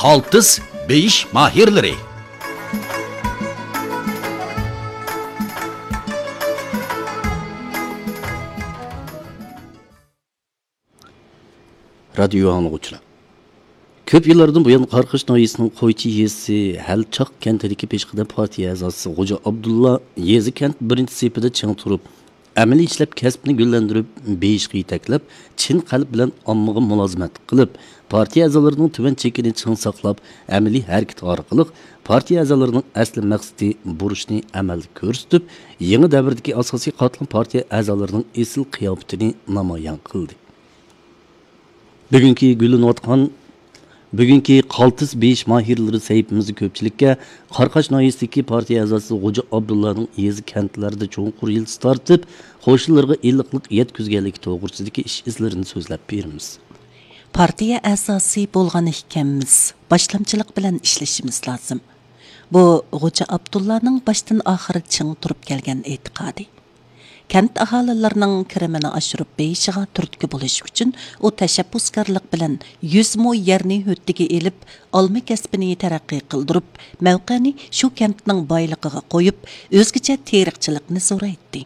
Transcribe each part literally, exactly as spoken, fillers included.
قالتىس بېيىش ماھىرلىرى. رادىيو ئاڭلىغۇچىلار، كۆپ يىللاردىن بۇيان قاراقاش ناھىيەسىنىڭ قويچى يېزىسى ھەلچاق كەنتىدىكى پېشقەدەم پارتىيە ئەزاسى غوجا ئابدۇللا يېزا كەنت بىرىنچى سېپىدە چىڭ تۇرۇپ، ئەمەلىي ئىشلەپ كەسىپنى گۈللەندۈرۈپ بېيىشقا يېتەكلەپ، چىن قەلب بىلەن ئاممىغا مۇلازىمەت قىلىپ، پارتىيە ئەزالىرىنىڭ تۆۋەن چېكىنى چىڭ ساقلاپ، ئەمەلىي ھەرىكىتى ئارقىلىق پارتىيە ئەزالىرىنىڭ ئەسلى مەقسىتى، بۇرچىنى ئەمەلدە كۆرسىتىپ، يېڭى دەۋردىكى ئاساسىي قاتلام پارتىيە ئەزالىرىنىڭ ئېسىل قىياپىتىنى نامايان قىلدى. بۈگۈنكى گۈللىنىۋاتقان، بۈگۈنكى قالتىس بېيىش ماھىرلىرى سەھىپىمىزدە كۆپچىلىككە قاراقاش ناھىيەسىدىكى پارتىيە ئەزاسى غوجا ئابدۇللانىڭ يېزا كەنتلەردە چوڭقۇر يىلتىز تارتىپ، قوشنىلىرىغا ئىللىقلىق يەتكۈزگەنلىكى توغرىسىدىكى ئىش ئىزلىرىنى سۆزلەپ بېرىمىز. پارتىيە ئەزاسى بولغان ئىكەنمىز، باشلامچىلىق بىلەن ئىشلىشىمىز لازىم. بۇ غوجا ئابدۇللانىڭ باشتىن ئاخىر چىڭ تۇرۇپ كەلگەن ئېتىقادى. كەنت ئاھالىلىرىنىڭ كىرىمىنى ئاشۇرۇپ بېيىشىغا تۈرتكە بولۇش ئۈچۈن، ئۇ تەشەببۇسكارلىق بىلەن يۈز مو يەرنى ھۆددىگە ئېلىپ، ئالما كەسپىنى تەرەققىي قىلدۇرۇپ، مەۋقەنى شۇ كەنتنىڭ بايلىقىغا قويۇپ، ئۆزگىچە تېرىقچىلىقنى زورايتتى.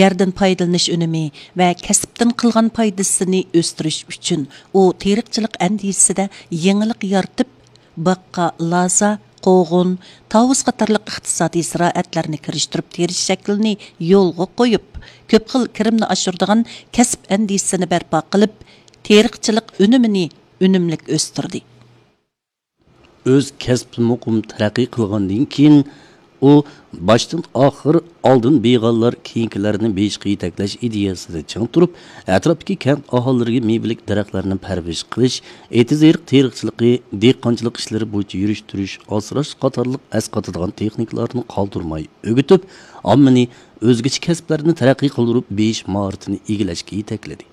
يەردىن پايدىلىنىش ئۈنۈمى ۋە كەسىپتىن قىلغان پايدىسىنى ئۆستۈرۈش ئۈچۈن، ئۇ تېرىقچىلىق ئەندىزىسىدە يېڭىلىق يارىتىپ، باققا لازا، قوغۇن، تاۋۇز قاتارلىق ئىقتىسادىي زىرائەتلەرنى كىرىشتۈرۈپ تېرىش شەكلىنى يولغا قويۇپ، كۆپ خىل كىرىمنى ئاشۇرىدىغان كەسىپ ئەندىزىسىنى بەرپا قىلىپ، تېرىقچىلىق ئۈنۈمىنى ئۈنۈملۈك ئۆستۈردى. ئۆز كەسپىنى مۇقىم تەرەققىي قىلغاندىن كېيىن، ئۇ باشتىن ئاخىر ئالدىن بېيىغانلار كېيىنكىلەرنى بېيىشقا يېتەكلەش ئىدىيەسىدە چىڭ تۇرۇپ، ئەتراپتىكى كەنت ئاھالىلىرىگە مېۋىلىك دەرەخلەرنى پەرۋىش قىلىش، ئېتىز-ئېرىق تېرىقچىلىقى، دېھقانچىلىق ئىشلىرى بويىچە يۈرۈشتۈرۈش، ئاسراش قاتارلىق ئەسقاتىدىغان تېخنىكىلارنى قالدۇرماي ئۆگىتىپ، ئاممىنى ئۆزگىچە كەسىپلەرنى تەرەققىي قىلدۇرۇپ بېيىش ماھارىتىنى ئىگىلەشكە يېتەكلىدى.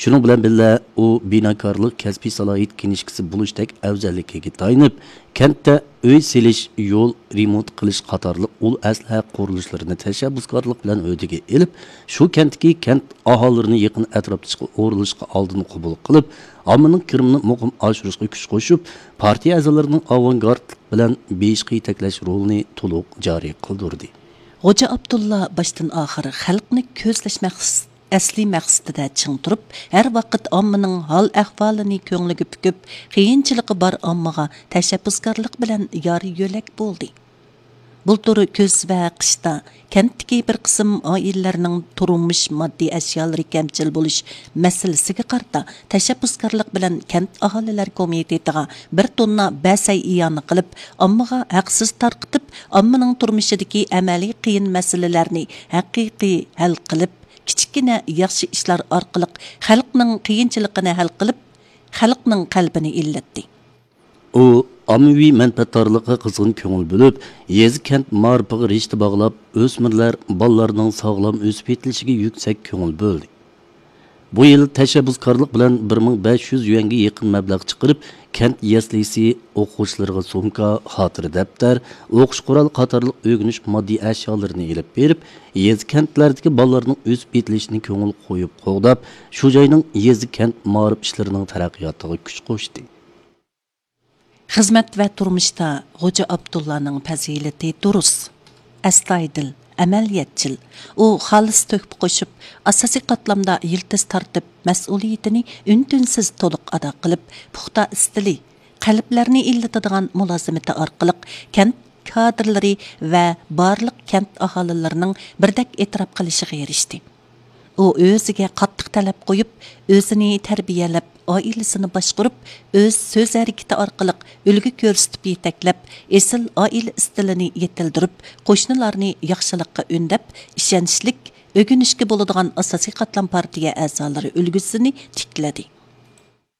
شۇنىڭ بىلەن بىللە، ئۇ بىناكارلىق كەسپىي سالاھىيەت كىنىشكىسى بولۇشتەك ئەۋزەللىكىگە تايىنىپ، كەنتتە ئۆي سېلىش، يول رېمونت قىلىش قاتارلىق ئۇل ئەسلىھە قۇرۇلۇشلىرىنى تەشەببۇسكارلىق بىلەن ھۆددىگە ئېلىپ، شۇ كەنتتىكى كەنت ئاھالىلىرىنى يېقىن ئەتراپتىكى ئورۇنلىشىشقا ئالدىن قوبۇل قىلىپ، ئاممىنىڭ كىرىمىنى مۇقىم ئاشۇرۇشقا كۈچ قوشۇپ، پارتىيە ئەزالىرىنىڭ ئاۋانگارتلىق بىلەن بېيىشقا يېتەكلەش رولىنى تولۇق جارى قىلدۇردى. غوجا ئابدۇللا باشتىن ئاخىر خەلقنى كۆزلەش مەقس-، ئەسلىي مەقسىتىدە چىڭ تۇرۇپ، ھەر ۋاقىت ئاممىنىڭ ھال-ئەھۋالىنى كۆڭلىگە پۈكۈپ، قىيىنچىلىقى بار ئاممىغا تەشەببۇسكارلىق بىلەن يار-يۆلەك بولدى. بۇلتۇر كۈز ۋە قىشتا كەنتتىكى بىر قىسىم ئائىلىلەرنىڭ تۇرمۇش ماددىي ئەشيالىرى كەمچىل بولۇش مەسىلىسىگە قارىتا، تەشەببۇسكارلىق بىلەن كەنت ئاھالىلەر كومىتېتىغا بىر توننا بەسەي ئىئانە قىلىپ، ئاممىغا ھەقسىز تارقىتىپ، ئاممىنىڭ تۇرمۇشىدىكى ئەمەلىي قىيىن مەسىلىلەرنى ھەقىقىي ھەل قىلىپ، كىچىككىنە ياخشى ئىشلار ئارقىلىق خەلقنىڭ قىيىنچىلىقىنى ھەل قىلىپ، خەلقنىڭ قەلبىنى ئىللەتتى. ئۇ ئاممىۋى مەنپەئەتدارلىققا قىزغىن كۆڭۈل بۆلۈپ، يېزا، كەنت مائارىپىغا رىشتە باغلاپ، ئۆسمۈرلەر، بالىلارنىڭ ساغلام ئۆسۈپ يېتىلىشىگە يۈكسەك كۆڭۈل بۆلدى. بۇ يىل تەشەببۇسكارلىق بىلەن بىر مىڭ بەش يۈز يۈەنگە يېقىن مەبلەغ چىقىرىپ، كەنت يەسلىسى ئوقۇغۇچىلىرىغا سومكا، خاتىرە دەپتەر، ئوقۇش قورالى قاتارلىق ئۆگىنىش ماددىي ئەشيالىرىنى ئېلىپ بېرىپ، يېزا، كەنتلەردىكى بالىلارنىڭ ئۆسۈپ يېتىلىشىنى كۆڭۈل قويۇپ قوغداپ، شۇ جاينىڭ يېزا، كەنت مائارىپ ئىشلىرىنىڭ تەرەققىياتىغا كۈچ قوشتى. خىزمەت ۋە تۇرمۇشتا غوجا ئابدۇللانىڭ پەزىلىتى دۇرۇس، ئەستايىدىل، ئەمەلىيەتچىل. ئۇ خالىس تۆھپە قوشۇپ، ئاساسىي قاتلامدا يىلتىز تارتىپ، مەسئۇلىيىتىنى ئۈن-تىنسىز تولۇق ئادا قىلىپ، پۇختا ئىستىلى، قەلبلەرنى ئىللىتىدىغان مۇلازىمىتى ئارقىلىق كەنت كادىرلىرى ۋە بارلىق كەنت ئاھالىلىرىنىڭ بىردەك ئېتىراپ قىلىشىغا ئېرىشتى. ئۇ ئۆزىگە قاتتىق تەلەپ قويۇپ، ئۆزىنى تەربىيەلەپ، ئائىلىسىنى باشقۇرۇپ، ئۆز سۆز ھەرىكىتى ئارقىلىق ئۈلگە كۆرسىتىپ يېتەكلەپ، ئېسىل ئائىلە ئىستىلىنى يېتىلدۈرۈپ، قوشنىلارنى ياخشىلىققا ئۈندەپ، ئىشەنچلىك، ئۆگىنىشكە بولىدىغان ئاساسىي قاتلام پارتىيە ئەزالىرى ئۈلگىسىنى تىكلىدى.